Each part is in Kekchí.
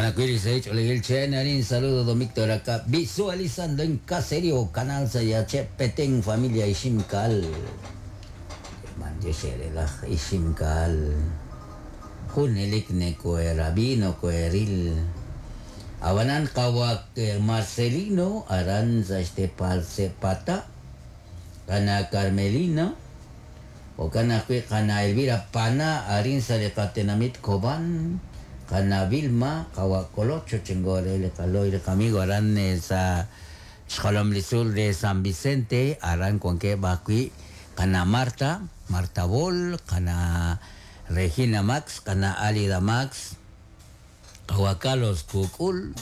Okanakui Saich Chenarín, saludo don Víctor acá, visualizando en Caserío, Canal Sayache, Petén, familia Iximcal. Iximcal. Junelik Necoerabino, Coeril. Abanan Kawak Marcelino, Aranza Estepal Cepata, Kana Carmelina, Okana Kana Elvira Pana, Arinza de Catenamit Cobán, Kana Vilma, Kawakolocho, Chengore, Le Caloy, Le Camigo, Aran sa Xolomlizul de San Vicente, Aran Cuanque Bakui, Kana Marta, Marta Bol, Kana Regina Max, Kana Alida Max, Kawacalos Kukul,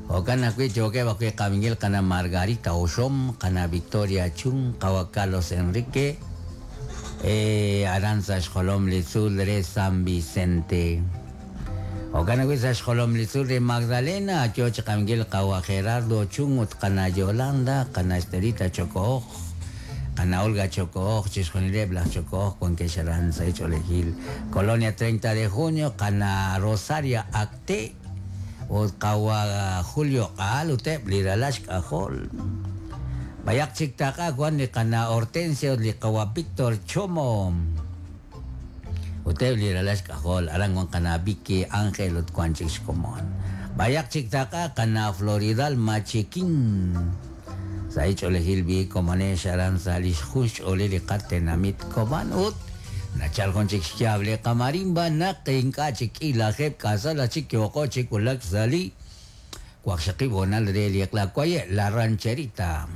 Okana Kwi Choque Bakui Kamingil, Kana Margarita Oshom, Kana Victoria Chung, Kawacalos Enrique, Aranza Xolomlizul de San Vicente. Okana Kwi sa Xolomlizul de Magdalena, Choch Kamingil Kawa Gerardo Chung, Kana Yolanda, Kana Estelita Chocooj, Kana Olga Chocooj, Chisjonile Blas Chocooj, Cuenque Sharanza, Cholejil, Colonia 30 de junio, Kana Rosaria Acte, Kawa Julio Qaal, Utep, Liralash Kajol. Bayak Chiktaka, Juan li Kana Hortensio, li Kawa Víctor Chomo. Utep, Liralash Kajol, Aranguan Kana Vicky Ángel, Utkuan Chixcomón. Bayak Chiktaka, Kana Floridal Machiquín. Saich olejil bi komane sharan salish hush olili qatenamit koban ut nachal jun chik xyable qamarimba naq ink'a chik k'ilajeb k'asal chik yoqo chik ulak sali waqxaqib honal re liqla kwaye la rancherita.